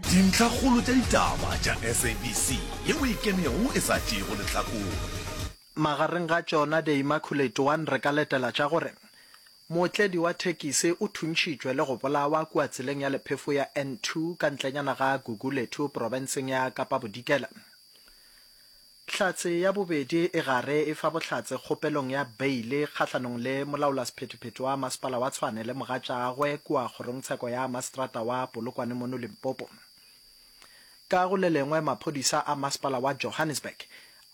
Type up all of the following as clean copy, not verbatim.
Dintlhakgolo tša ditaba tša SABC yeo e kenego e sa tšeego lehlakore. Magareng ga tšona The Immaculate One re ka letela tša gore mootledi wa thekisi o thuntšhitšwe le go bolawa kua tseleng ya lephefo ya N2 ka ntlenyana ga Gugulethu profenseng ya Kapa Bodikela. Hlatse ya bobedi e gare e fa bohlatse kgopelong ya beile kgahlanong le molaolasephethephethe wa masepala wa Tshwane le mogatšagwe kua kgorongtsheko ya maseterata wa Polokwane mono Limpopo. Ka go le lengwe maphodisa a masepala wa Johannesburg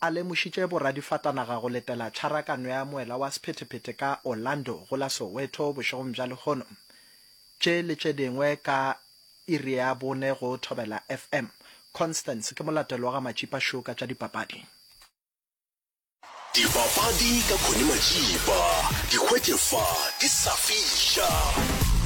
a lemošitše boradifatanaga go letela tšharakano ya moela wa sephethephethe ka Orlando go la Soweto bošegong bja lehono. Tše le tše dingwe ka Iri ya bone go Thobela FM. Constance ke molatelo wa ga Matšipa Show ka tša dipapadi. Dipapadi ka Connie Matšipa, di hwetše fa di sa fiša.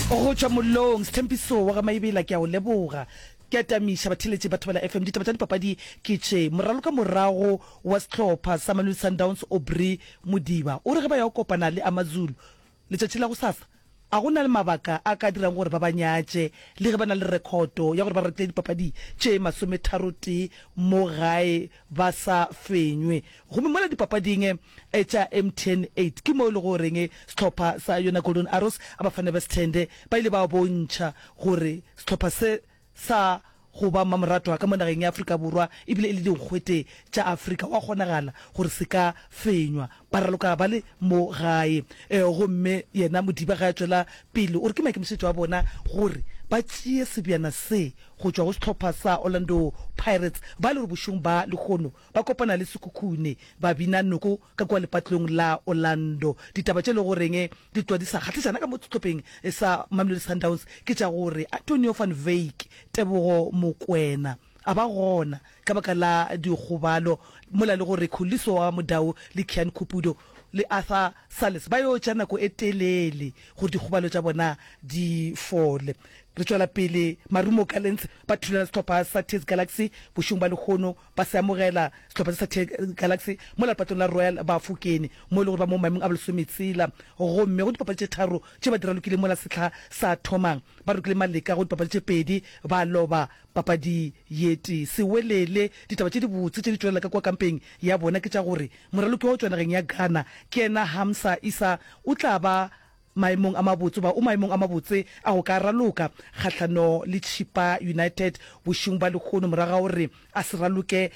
Go tšwa mollong, Sthempiso wa ga Maibela ke a o leboga. Ke a tamiša batheeletši ba Thobela FM. Ditaba tša dipapadi ke tše. Moraloka morago wa sehlopha sa Mamelodi Sundowns Aubrey Modiba o re ge ba ya go kopana le AmaZulu letšatši la gosasa, A go na le mabaka a ka dirang gore ba ba nyatše, le ge ba na le rekhoto ya gore ba ratile dipapadi tše masometharotee mo gae ba sa fenywe? Gomme mola dipapading tša MTN eight ke mo e lego goreng sehlopha sa yona Golden Arrows a Bafana Besthende ba ile ba bontšha gore sehlopha se sa go ba mmamoratwa ka mo nageng ya Afrika Borwa ebile e le dinkgwete tša Afrika, go a kgonagala gore se ka fenywa. Ba raloka ba le mo gae. Gomme yena Modiba ge a tšwela pele o re ke maikemišetšo a bona gore ba tšee sebjana se go tšwa go sehlopha sa Orlando Pirates ba le gore bošegong ba lehono ba kopana le Sekhukhune ba bina noko ka kua lepatlelong la Orlando. Ditaba tše e lego goreng di tloga di sa kgahlišana ka mo sehlopheng sa Mamelodi Sundowns ke tša gore Antonio van Wyk, Tebogo Mokoena a ba gona ka baka la dikgobalo mola le gore Khuliso wa Mudau le Kian Cupido le Arthur Sales ba yo tša nako e telele gore dikgobalo tša bona di fole. Re tšwela pele, Marumo Gallants ba thulana le sehlopha sa TS Galaxy bošegong ba lehono. Ba se amogela sehlopha se sa TS Galaxy mola lepatlong la Royal Bafokeng mo e le gore ba mo maemong a bolesometshela gomme go dipapadi tše tharo tše ba di ralokileng mola sehla sa thomang ba rokile maleka go dipapadi tše pedi ba loba papadi ye tee. Sewelele ditaba tše dibotse tše di tšwelela ka kua kampeng ya bona ke tša gore moraloki wa go tšwa nageng ya Ghana ke yena Hamsa Issa o tla ba maemong a mabotse goba o maemong a mabotse a go ka raloka kgahlano le Chippa United bošegong bja lehono morago ga gore a se raloke.